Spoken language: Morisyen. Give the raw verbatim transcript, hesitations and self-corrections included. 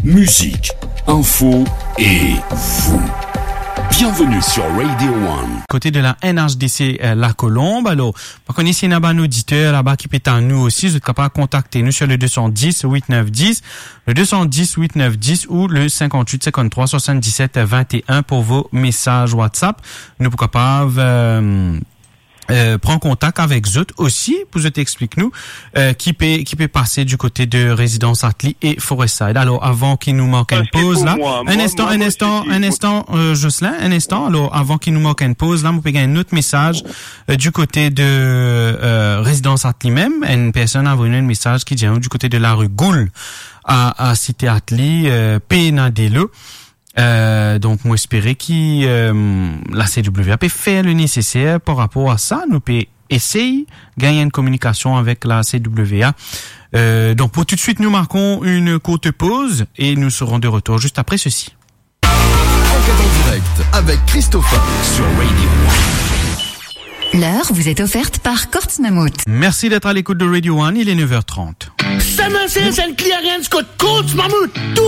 Musique, info et vous. Bienvenue sur Radio One. Kote de la N H D C, euh, La Colombe. Alor, pa kone si ena bann oditer laba ki pe tann nou osi, zot kapav kontakte nou sur le deux cent dix huit neuf dix, le deux cent dix huit neuf dix ou le cinquante-huit cinquante-trois soixante-dix-sept vingt et un pour vos messages WhatsApp. Nou pou kapav, euh, euh, pran kontak avek zot osi pou zot explik nou, euh, ki pe, ki pe pase du kote de Rezidans Atli e Forest Side. Alor, avan ki nou mark enn poz la, enn instan, enn instan, enn instan, euh, Jocelyn, enn instan. Alor, avan ki nou mark enn poz la, mo pe gagn enn lot mesaz, euh, du kote de, euh, Rezidans Atli mem. Enn personn avoy nou enn mesaz ki dir nou du kote de lari Goul a, a Site Atli, euh, pena delo. Euh, donk, mo espere ki, euh, la C W A pe fer le neseser par rapor a sa. Nou pe esey gagn enn kominikasion avek la C W A. Euh, donk, pou toutswit, nou markon enn kourt poz e nou serons de retour juste après ceci. Enquête en direct avec Christopher sur Radio One. L'heure vous est offerte par Courts Mammouth. Merci d'être à l'écoute de Radio One, il est neuf heures trente. Summer Sales and Clearance kot Courts Mammouth. Tou